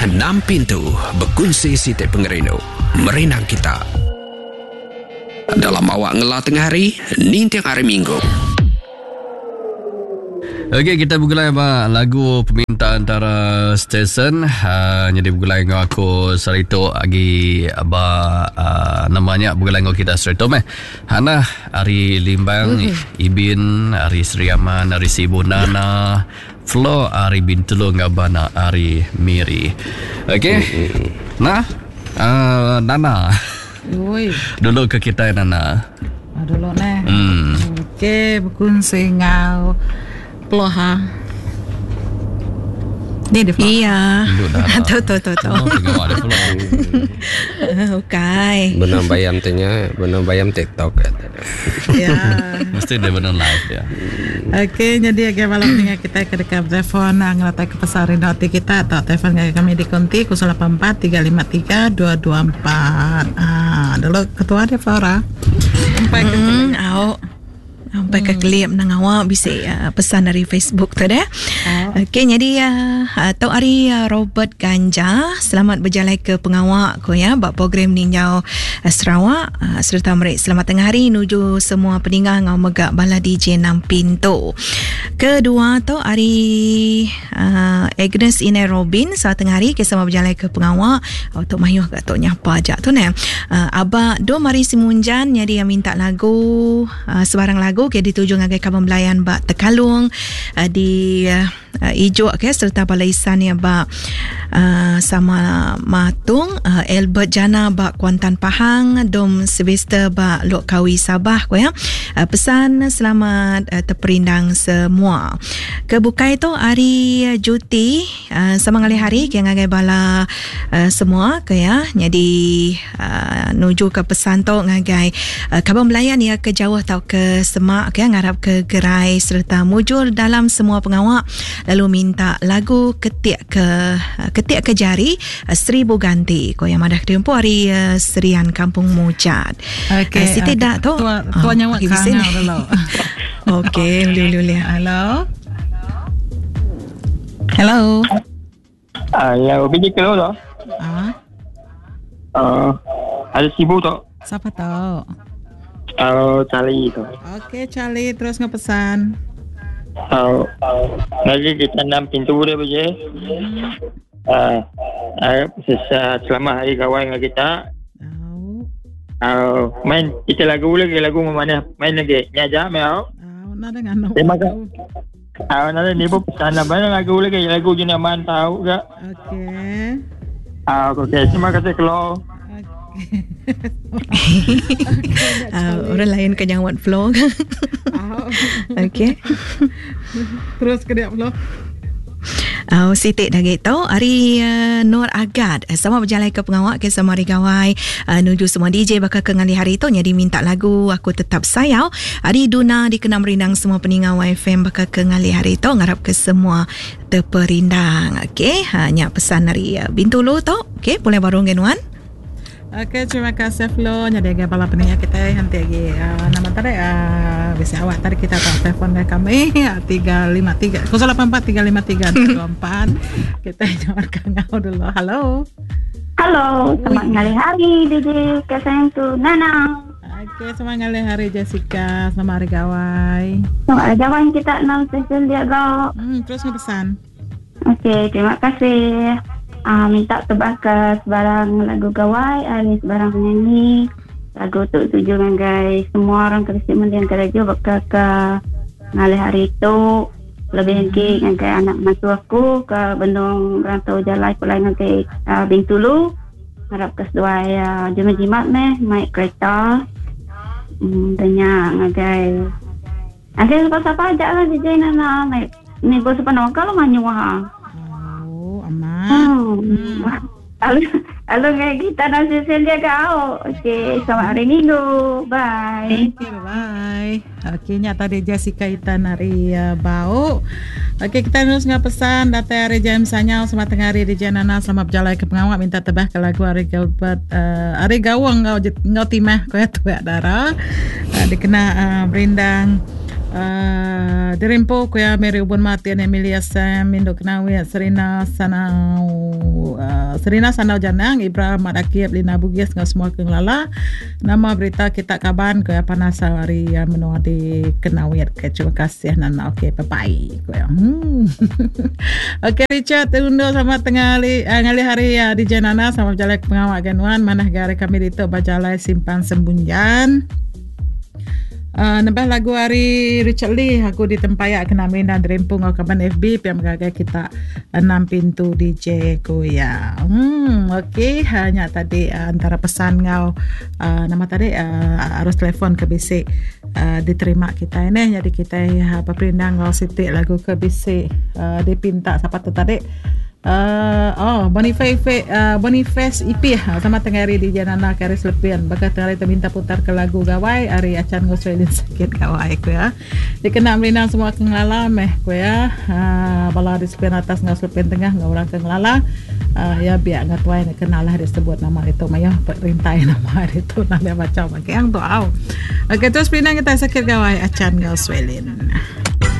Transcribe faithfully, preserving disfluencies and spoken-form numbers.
Enam pintu berkunsi siti pengerinu. Merinang kita. Dalam awak ngela tengah hari, ninting hari Minggu. Okey, kita bergulai ba lagu permintaan antara stesen. Uh, jadi bergulai dengan aku Sarito agi ba uh, namanya bergulai dengan kita Sarito meh. Hana ari Limbang, mm-hmm. Ibin ari Sri Aman, ari Sibu Nana, Flo ari Bintulu ngabana ari Miri. Okey. Mm-hmm. Nah, uh, Nana. Oi. Dulu ke kita Nana. Ah, dulu neh. Hmm. Okey, berkunsi ngau Peloha. Ni dia Flo. Iya. Tu tu tu tu. Okey. Benar bayam tanya, benar bayam TikTok. Ya. Mesti dia benar live ya. Okey, jadi agak malam ni kita ke dekat telefon ngelatai ke pasar rindu kita atau telefon kami di konti kosong lapan empat tiga lima tiga dua dua empat. Ah, dulu ketua dia Flora. Sampai ke hmm, au. Sampai ke klip nang awak bisa uh, pesan dari Facebook tu deh. Oh. Okey, jadi uh, tau hari uh, Robert Ganja, selamat berjalan ke pengawak ko ya bab program ninjau uh, Sarawak uh, serta merik selamat tengah hari nuju semua peninggal ngau megak bala D J enam pintu. Kedua tu hari uh, Agnes Ine Robin, selamat tengah hari ke sama berjalan ke pengawak untuk mayuh kat tok nyapa ajak tu ne. Uh, Abak Do Mari Simunjan jadi yang minta lagu uh, sebarang lagu ke dituju ngagai kaban belayan bak Tekalung uh, di uh, Ijuk ke serta bala isan ya bak uh, sama Matung uh, Albert Jana bak Kuantan Pahang, Dom Sylvester bak Lok Kawi Sabah ko ya. Uh, pesan selamat uh, terperindang semua. Kebukai tu hari uh, Juti uh, sama ngalih hari ke ngagai bala uh, semua ke ya. Jadi uh, nuju ke pesan tu ngagai uh, kaban belayan ya ke jauh atau ke semak ke ngarap ke gerai serta mujur dalam semua pengawak. Lalu minta lagu ketik ke ketik ke jari seribu ganti ko yang madah tempoh hari uh, Serian Kampung Mujat. Okey, uh, Siti okay. dak tu. Tua tua nyawa okay, kangau dulu. Okey, boleh boleh boleh. Hello. Hello. Hello, biji kelo tu. Ah. Uh, ada sibuk tu. Siapa tu? Oh, Charlie tu. Okey, Charlie terus ngepesan. Oh, lagi kita enam pintu dia baje. Ah, uh, selamat hari kawan dengan kita. Oh. Uh, main kita lagu lagi lagu mana main lagi. Ni aja mau. Oh, nak dengan. Terima kasih. Ah, nak ni pun pesan lah main lagu lagi lagu je nak man tahu ke. Okey. Ah, okey, terima kasih Klo. Uh, orang lain ke jawab flow. Okey. Terus ke dia flow. Uh, Sitik dah gitu hari uh, Nur Agad sama berjalan ke pengawak ke sama hari gawai uh, nuju semua D J bakal ke ngali hari tu jadi minta lagu Aku Tetap Sayau hari Duna dikena merindang semua peninggal Y F M bakal ke ngali hari tu ngarap ke semua terperindang. Okey, hanya pesan dari uh, Bintulu tu. Okey, boleh baru ngenuan. Okey, terima kasih Flo. Jadi agak bala peninggal kita nanti lagi uh, nama tadi uh, bisa awak tadi kita tak telefon dari kami tiga lima tiga kosong lapan empat tiga lima tiga dua empat. Kita jawab kangau dulu. Halo. Halo, selamat ngalih hari D J kasayang tu Nana. Okey, selamat ngalih hari Jessica, selamat hari gawai. Selamat hari gawai kita enam session dia gak. Hmm, terus ngepesan. Okey, terima kasih. Ah, minta tebak ke sebarang lagu gawai, hari sebarang penyanyi. Lagu tu tuju ngagai semua orang ke mendiang kerja bakal ke ngalih hari itu lebih lagi ngagai anak mantu aku ke Bendung Rantau Jalai pulai ngagai uh, Bintulu. Harap ke seduai uh, jimat-jimat meh naik kereta. Hmm, tanya ngagai ada siapa-siapa aja lah D J Nana naik ni bos penuh kalau manyuah. Hmm. Hmm. Lalu, lalu dengan kita nak susun dia kau. Okey, selamat hari Minggu. Bye. Okay, bye. Okey, nya tadi Jessica Itan hari uh, Bau. Okey, kita terus ngah pesan datai hari James Sanyal selamat tengah hari di Janana selamat berjalan ke pengawak minta tebah ke lagu hari Gilbert uh, hari Gawang ngau ngau timah kau ya tuak dara. Uh, dikena uh, berindang Uh, Dirimpo kuya Mary Ubun Mati Emilia Sam Indo Kenawi Serina Sanau uh, Serina Sanau Janang Ibrahim Madakib Lina Bugis ngau semua ke ngelala nama berita kita kaban kuya panas hari uh, menua di Kenawi. Okay, terima kasih Nana. Okey, bye bye kuya. Hmm. Okey Richard undur sama tengah hari uh, ngalih hari uh, di Nana sama berjalan pengawal ganuan manah gare kami ditu bajalai simpan sembunjan. Uh, nambah lagu hari Richard Lee aku ditempayak kena minda derempung ngau kaban F B piam gagai kita enam pintu D J ku ya. Hmm okey hanya tadi uh, antara pesan ngau uh, nama tadi uh, arus telefon ke bisik uh, diterima kita ini jadi kita uh, peperindang ngau sitik lagu ke bisik uh, dipinta siapa tu tadi. Uh, oh Boniface uh, Boniface I P sama tengah hari di Janana Karis Lepian bakal tengah hari minta putar ke lagu gawai hari acan ngosrelin sakit gawai ku ya dikena merindang semua kengelala meh ku ya uh, bala di sepian atas ngos lepian tengah ngau orang kengelala uh, ya biar nggak tuai nak kenalah disebut nama itu maya perintai nama itu nama macam pakai yang tu au. Okey terus perindang kita sakit gawai acan ngosrelin.